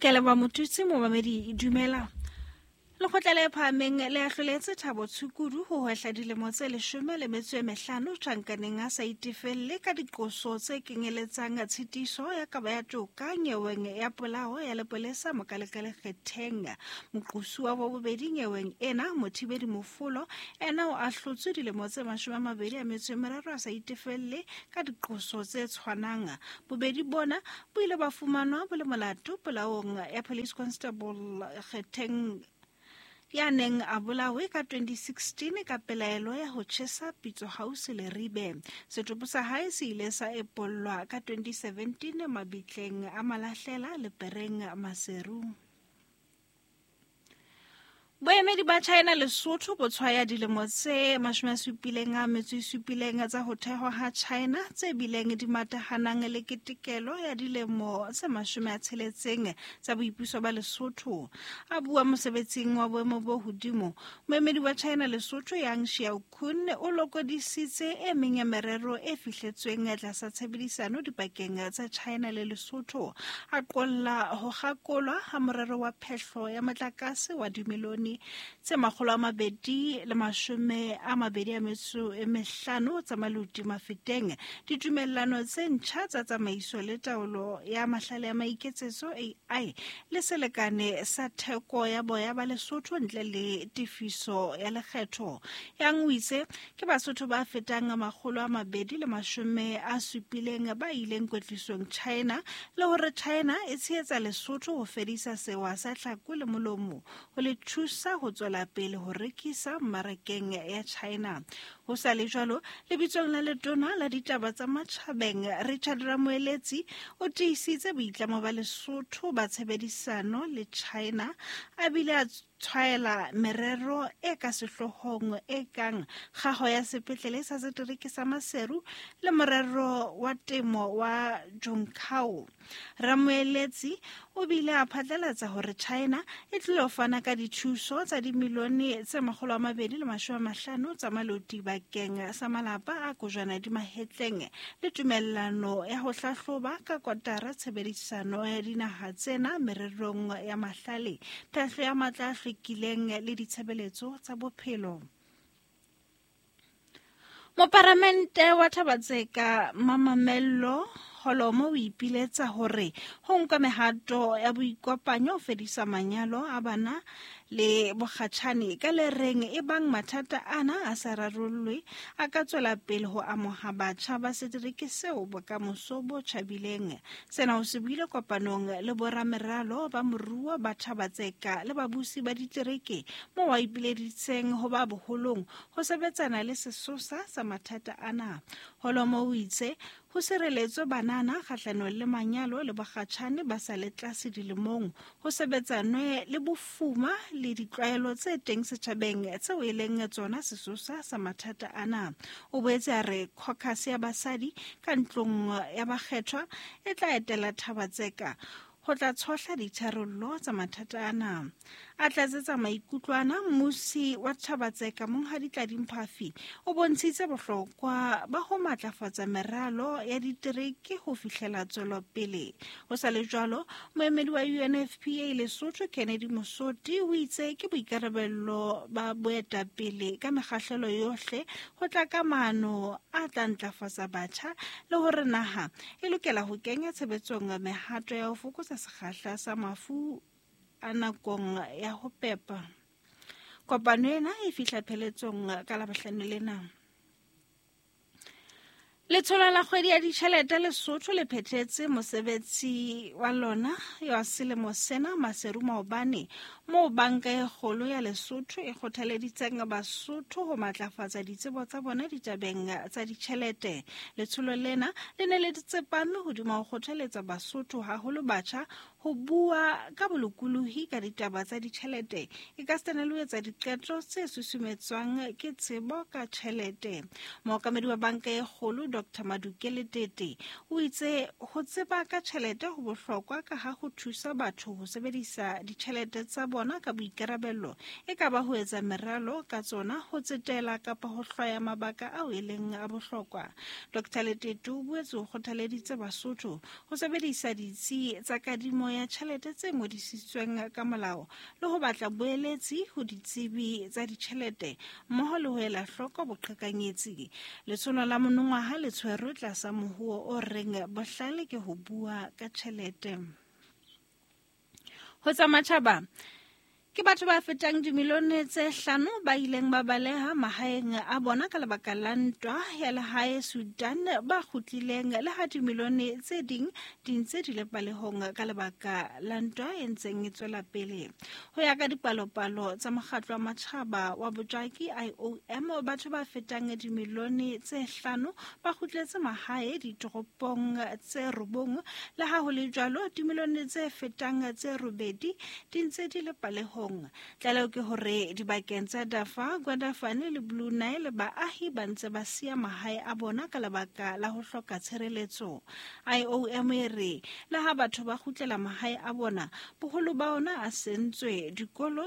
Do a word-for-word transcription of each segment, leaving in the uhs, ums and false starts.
Ke leboha Motutsi momamedi dumela. Lekgotla le phahameng le ahloletse Thabo Tshukudu ho hwehla dilemo tse leshome le metso e mehlano tjhankaneng a sa itefelle ka diqoso tse kenyeletsang tshitiso ya kabo ya toka nyeweng ya polao ya lepolesa Mokalekale Kgetheng. Moqosuwa wa bobedi nyeweng ena Mothibedi Mofolo ena o ahlotswe dilemo tse mashome a mabedi a metso e meraro a sa itefelle ka diqoso tse tshwanang. Bobedi bona bo ile ba fumanwa bo le molato polaong ya Police Constable Kgetheng ya neng a bolawe ka twenty sixteen ka pelaelo ya ho tjhesa Pitso House Leribe. Setopo sa hae se ile sa epollwa ka twenty seventeen mabitleng a Malahlela Lepereng Maseru. Boemedi ba China Lesotho bo tshwaya dilemo tse mashome a supileng a metso e supileng tsa ho thehwa ha China tse bileng di matahanang le ketekelo ya dilemo tse mashome a tsheletseng tsa boipuso ba Lesotho. A bua mosebetsing wa boemo bo hodimo, moemedi wa China Lesotho Yang Xiaokun o lokodisitse e meng ya merero e fihletsweng tlasa tshebedisano dipakeng tsa China le Lesotho. A qolla ho kgakolwa ha morero wa phehlo ya motlakase wa dimilione tse makgolo a mabedi le mashome a mabedi a metso e mehlano tsa Maluti Mafeteng, ditumellano tse ntjha tsa tsamaiso le taolo ya mahlale a maiketsetso A I le selekane sa theko ya boya ba Lesotho ntle le tefiso ya lekgetho. Yang o itse ke Basotho ba fetang makgolo a mabedi le mashome a supileng ba ileng kwetlisong China, le hore China e tshehetsa Lesotho ho fedisa sewa sa tlhako le molomo ho le thusa ho tswela pele ho rekisa mmarakeng ya China. Ho sa le jwalo, lebitsong la letona la ditaba tsa matjhabeng Richard Ramoeletsi o tiisitse boitlamo ba Lesotho ba tshebedisano le China, a bile a tshwaela merero e ka sehloohong e kang kgaho ya sepetlele sa setereke sa Maseru le morero wa temo wa Junkao. Ramoeletsi o bile a phatlalatsa hore China e tlilo fana ka dithuso tsa dimilione tse makgolo a mabedi le mashome a mahlano tsa maloti bakeng sa malapa a kojwana di mahetleng le tumellano ya ho hlahloba ka kotara tshebedisano ya dinaha tsena mererong ya mahlale, phehlo ya matla a hlwekileng le ditshebeletso tsa bophelo. Moparamente wa Thabatseka Mamamello Holomo o ipiletsa hore ho nkwe mehato ya boikopanyo ho fedisa manyalo a bana le bokgatjhane ka le reng e bang mathata ana a sa rarollwe a ka tswela pele ho amoha batjha ba setereke seo bokamoso bo tjhabileng. Sena o se buile kopanong le borameralo ba moruo ba Thabatseka le babusi ba ditereke moo a ipileditseng ho ba boholong ho sebetsana le sesosa sa mathata ana. Holomo o itse ho sireletswe banana kgahlanong le manyalo le bokgatjhane ba sa le tlase dilemong, ho sebetsanwe le bofuma le ditlwaelo tse teng setjhabeng tseo e leng tsona sesosa sa mathata ana. O boetse a re caucus ya basadi ka ntlong ya bakgethwa e tla etela Thabatseka ho tla tshohla ditharollo tsa mathata ana. A tlatsetsa maikutlo ana, mmusi wa Thabatseka Monghadi Tladi Mphafi o bontshitse bohlokwa ba ho matlafatsa meralo ya ditereke ho fihlela tswelopele. Ho sa le jwalo, moemedi wa U N F P A Lesotho Kennedy Mosoti o itse ke boikarabello ba boetapele ka mekgahlelo yohle ho tla ka maano a tla ntlafatsa batjha le hore naha e lokela ho kenya tshebetsong mehato ya ho fokotsa sekgahla sa mafu a nakong ya ho pepa. Kopano ena e fihla pheletsong ka Labohlano lena. Letsholo la kgwedi ya ditjhelete Lesotho le phethetse mosebetsi wa lona ya selemo sena Maseru maobane, moo banka e kgolo ya Lesotho e kgothaleditseng Basotho ho matlafatsa ditsebo tsa bona ditabeng tsa ditjhelete. Letsholo lena le ne le tsepame hodima ho kgothaletsa Basotho haholo batjha ho bua ka bolokolohi ka ditaba tsa ditjhelete, e ka sitana le ho etsa diqeto tse susumetswang ke tsebo ka tjhelete. Mookamedi wa banka e kgolo Doctor Maduke Letete o itse ho tseba ka tjhelete ho bohlokwa ka ha ho thusa batho ho sebedisa ditjhelete tsa bona ka boikarabello, e ka ba ho etsa meralo ka tsona, ho tsetela kapa ho hlwaya mabaka ao e leng a bohlokwa. Doctor Letete o boetse o kgothaleditse Basotho ho sebedisa ditsi tsa kadimo ya tjhelete tse ngodisitsweng ka molao le ho batla boeletsi ho ditsebi tsa ditjhelete mmoho le ho ela hloko boqhekanyetsi. Letsholo la monongwaha le tshwerwe tlasa mohuo o reng bohlale ke ho bua ka tjhelete. Ho tsa matjhaba, ke batho ba fetang dimilione tse hlano ba ileng ba baleha mahaeng a bona ka lebaka la ntwa ya lehae Sudan ba kgutlileng, le ha dimilione tse ding di ntse di le palehong ka lebaka la ntwa e ntseng e tswela pele. Ho ya ka dipalopalo tsa mokgatlo wa matjhaba wa bojaki I O M, batho ba fetang dimilione tse hlano ba kgutletse mahae ditoropong tse robong, le ha ho le jwalo dimilione tse fetang tse robedi di ntse di le palehong. Tlaleho ke hore dibakeng tsa Darfur, Kordofan le Blue Nile baahi ba ntse ba siya mahae a bona ka lebaka la ho hloka tshireletso. I O M e re le ha batho ba kgutlela mahae a bona, boholo ba ona a sentswe, dikolo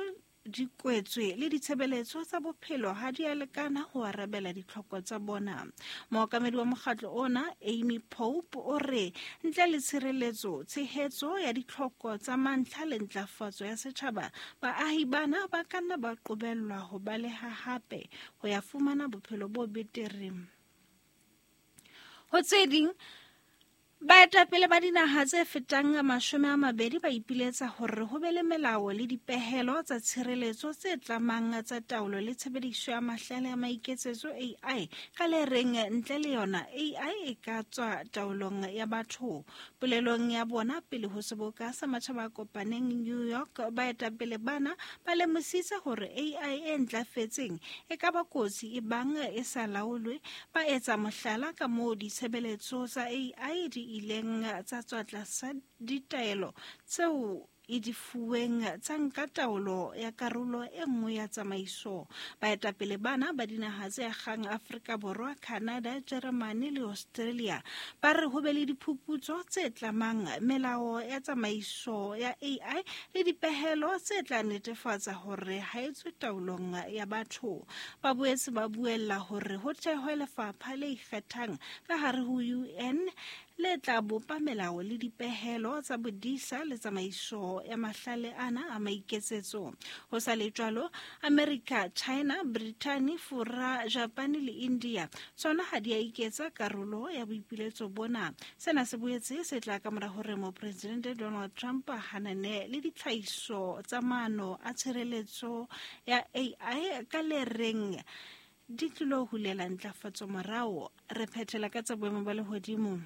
di kwetswe le ditshebeletso tsa bophelo ha di a lekana ho arabela ditlhoko tsa bona. Mookamedi wa mokgatlo ona Amy Pope o re ntle le tshireletso, tshehetso ya ditlhoko tsa mantlha le ntlafatso ya setjhaba, baahi bana ba ka nna ba qobellwa ho baleha hape ho ya fumana bophelo bo betere. Ho tse ding, baetapele ba dinaha tse fetang mashome a mabedi ba ipiletsa hore ho be le melao le dipehelo tsa tshireletso tse tlamang tsa taolo le tshebediso ya mahlale a maiketsetso A I ka le reng ntle le yona A I e ka tswa taolong ya batho. Polelong ya bona pele ho seboka sa matjhaba a kopaneng New York, baetapele bana ba lemositse hore A I e ntlafetseng e ka ba kotsi e bang e sa laolwe. Ba etsa mohlala ka moo ditshebeletso tsa A I di ileng tsa tswa tlasa ditaelo tseo e di fuweng tsa nka taolo ya karolo e nngwe ya tsamaiso. Baetapele bana ba dinaha tse akgang Afrika Borwa, Canada, Germany le Australia ba re ho be le diphuputso tse tlamang, melao ya tsamaiso ya A I le dipehelo tse tla netefatsa hore ha e tswe taolong ya batho. Ba boetse ba buella hore ho thehwe lefapha le ikgethang ka hare ho U N le tla bopa melao le dipehelo tsa bodisa le tsamaiso ya mahlale ana a maiketsetso. Ho sa le jwalo, America, China, Britain, Fora, Japan le India tsona ha di a iketsa karolo ya boipiletso bona. Sena se boetse se tla ka mora hore mopresidente Donald Trump a hanane le ditlhahiso tsa maano a tshireletso ya A I ka le reng di tlilo hulela ntlafatso morao. Re phethela ka tsa boemo ba lehodimo.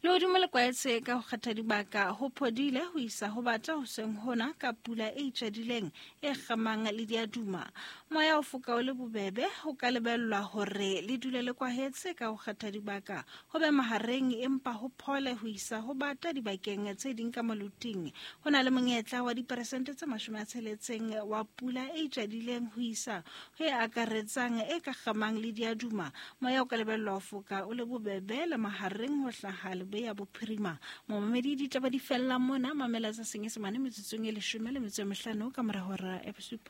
Lehodimo le kwaetse ka ho kgetha dibaka ho phodile ho isa ho bata hoseng hona ka pula e itjadileng e kgamang le diaduma. Moya o foka o le bobebe, ho ka lebellwa hore le dule le kwahetse ka ho kgetha dibaka ho be mahareng empa ho phole ho isa ho bata dibakeng tse ding ka moluting. Ho na le monyetla wa diperesente tse mashome a tsheletseng wa pula e itjadileng ho isa ho e akaretsang e ka kgamang le diaduma. Moya o ka lebellwa ho foka o le bobebe le mahareng ho hlaha ya bophirima. Momamedi, ditaba di fella mona, mamela tsa Senyesemane metsotsong e leshome le metso e mehlano ka mora hora ya bosupa.